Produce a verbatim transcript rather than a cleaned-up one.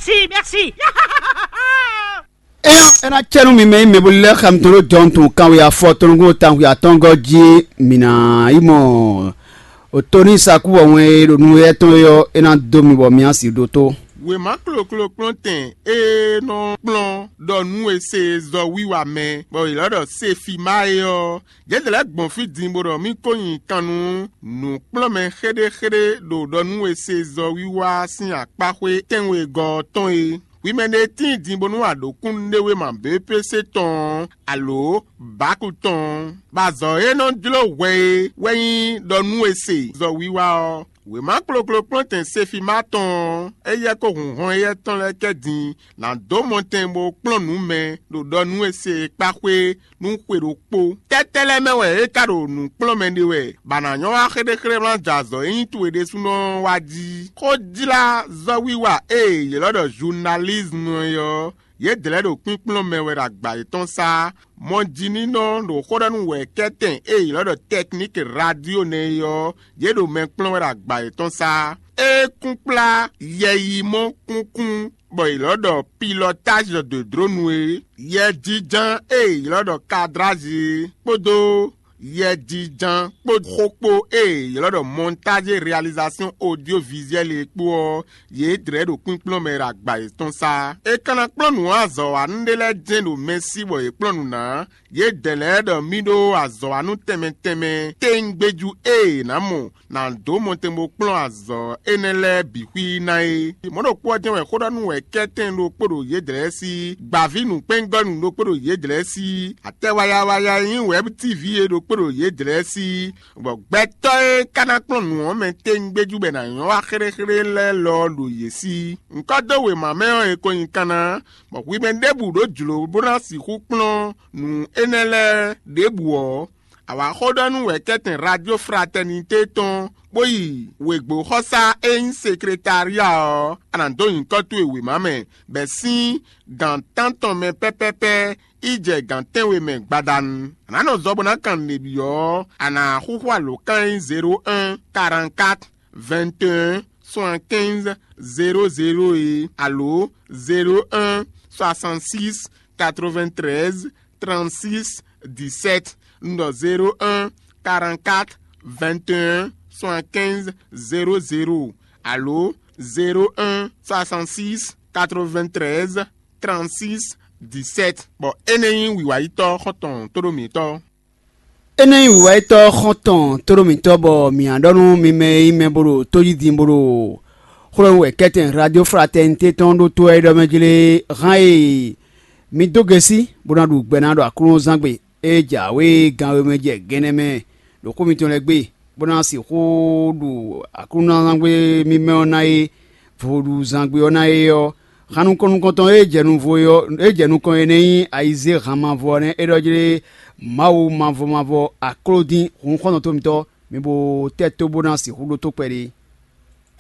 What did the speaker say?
Si, merci. Ena cɛnu mi mɛ yi mɛ bo lɛ xam tɔn ɖo jɔn tun kanwe afɔ tɔn go tanwe atɔngɔ ji. Mina yi mɔ o toni saku wɔ wɛn e ɖo nu yɛ tɔn yɔ ena do mi bɔ mi asi ɖo to. Wěma kloklo kplɔ́ntɛn e nɔ kplɔ́n ɖɔ nú e se zɔ wiwa mɛ bɔ è lɔ́ ɖɔ Sefima é ɔ́, yě lɛ́ gbɔn fí din bó ɖɔ mì ko nyi kan nú nǔkplɔ́nmɛ xéɖéxéɖé ɖo ɖɔ nú e se zɔ wiwa sín akpáxwé tɛ́nwegɔ́ ɔ́ tɔn é. Hwi mɛ ɖé tíin din bónú a ɖǒ kúnnuɖéwéma B P C tɔn ɔ́, alǒ Baku tɔn ɔ́, bɔ azɔ̌ e nɔ jló hwɛ é wɛ nyí ɖɔ nú e se zɔ wiwa ɔ́. Wěma kloklo kplɔ́ntɛn Sefima tɔn ɔ́, éyɛ́ kó hun hɔn éyɛ́ tɔn lɛ́ɛ kɛ din ná dó mɔtɛn bó kplɔ́n nǔ mɛ ɖo ɖɔ nú e se e kpá xwé nú xwe ɖokpó. Tɛ́tɛ́ lɛ́ɛ mɛ wɛ é ka ɖo nǔ kplɔ́n mɛ ɖe wɛ, bɔ a nǎ nyɔ́ wá xéɖéxéɖé wlán jɛ azɔ̌ e nyí towe ɖésúnɔ ɔ́ wá jí? Xó jlá zɔ́wiwa e è ylɔ́ ɖɔ zunalízmu é ɔ́, yědɛɛ lɛ́ɛ ɖo kpínkplɔ́n mɛ wɛ ɖo agba yětɔn sá. Mɔjininɔ ɖo xó ɖɔ nú wɛ̌kɛ́tɛn e è ylɔ́ ɖɔ tɛkníki radio nɛ́ é ɔ́, yě ɖo mɛ kplɔ́n wɛ ɖo agba yětɔn sá. É kún kplá yɛyimɔ kúnkún bɔ è ylɔ́ ɖɔ pilɔtázi ɖo dǒdrónu é, yɛjínján e è ylɔ́ ɖɔ kadrázi é, kpódó yɛjínján kpó xó kpó e è ylɔ́ ɖɔ mɔntázi réalizasɔ́n odyovizuɛ́li é kpó ɔ́, yě dlɛ̌ ɖo kpínkplɔ́n mɛ ɖo agba yětɔn sá. È ka ná kplɔ́n nǔ azɔ̌wanú ɖé lɛ́ɛ jɛ́n ɖo mɛ sí bɔ yě kplɔ́n nǔ ná. Yědɛɛ lɛ́ɛ ɖɔ mì ɖó azɔ̌wanú tɛnmɛ tɛnmɛ téŋgbéjú e è nǎ mɔ ná dó mɔtɛn bó kplɔ́n azɔ̌ énɛ́ lɛ́ɛ bǐ xwí ná é. Mɔ̌ ɖokpó ɔ́ jɛ́n wɛ xó ɖɔ nú wɛ kɛ́tɛn ɖokpó ɖo yědɛɛ sí, gbǎví nǔkpɛ́ngɔ́nú ɖokpó ɖo yědɛɛ sí, atɛ wayawaya e nyí wɛ̌b tívi é ɖokpó ɖo yědɛɛ sí, bɔ gbɛtɔ́ e ka ná kplɔ́n nǔ ɔ́ mɛ téŋgbéjú bɔ è nǎ nyɔ́ wá xéɖéxéɖé lɛ́ɛ lɔ ɔ́ ɖo yě sí. Ŋkɔ́ dó wěma mɛ ɔ́, è ko nyi kanna, bɔ hwi mɛ ɖěbǔ ɖó jlǒ bó ná sixú kplɔ́n nǔ énɛ́ lɛ́ɛ ɖěbǔ ɔ́, a wǎ xó ɖɔ nú wɛ̌kɛ́tɛn Radio Fraternité tɔn, bó yi wěgbóxɔsá e nyí sekretária ɔ́, a nǎ dó nyǐkɔ towe wěma mɛ, bɔ è sín gǎn tántɔn mɛ pɛ́pɛ́pɛ́ yi jɛ gǎn tɛ́nwe mɛ gbadanu. A nǎ nɔ zɔ bó ná kan nǔɖé byɔ́ ɔ́, a nǎ xúxú alǒkan e nyí zéro un, quarante-quatre, vingt et un, soixante-quinze, zéro zéro é, alo zéro un, soixante-six, quatre-vingt-treize, trente-six, dix-sept, un ɖɔ zéro un, quarante-quatre, vingt et un, soixante-quinze, zéro zéro, alo zéro un, soixante-six, quatre-vingt-treize, trente-six, dix-sept. Bɔ énɛ́ nyí wǐwayítɔ́ xɔ́ntɔn tóɖó mǐtɔn. Énɛ́ nyí wǐwayítɔ́ xɔ́ntɔn tóɖó mǐtɔn bɔ mǐ á ɖɔ nú mi mɛ e nyí mɛ bó ɖo tó jí din bó ɖo xwlɔ́ wɛ kɛ́tɛn Radio Fraternité tɔn ɖó tó wɛ é ɖɔ mɛ jlé hán e mi dó gɛ́sí bó ná ɖu gbɛ ná ɖo Aklúnɔzángbe e jǎwe ganwé mɛ jɛ gɛnɛ mɛ ɖo xó mitɔn lɛ́ɛ gbe, bó ná sixú ɖu Aklúnɔzángbe mímɛ́ ɔ́ ná é, vodúzángbe ɔ́ ná é ɔ́, han nukɔn nukɔntɔn e jɛ nuvo e ɔ́, e jɛ nukɔn e nɛ́ nyí ayizéhan mavɔ ɔ́ nɛ́ é ɖɔ jlé Mawu mavɔ mavɔ akló dín hun xɔ́ntɔn tómitɔ́, mi bo tɛ́ tó bó ná sixú ɖótó kpɛɖé.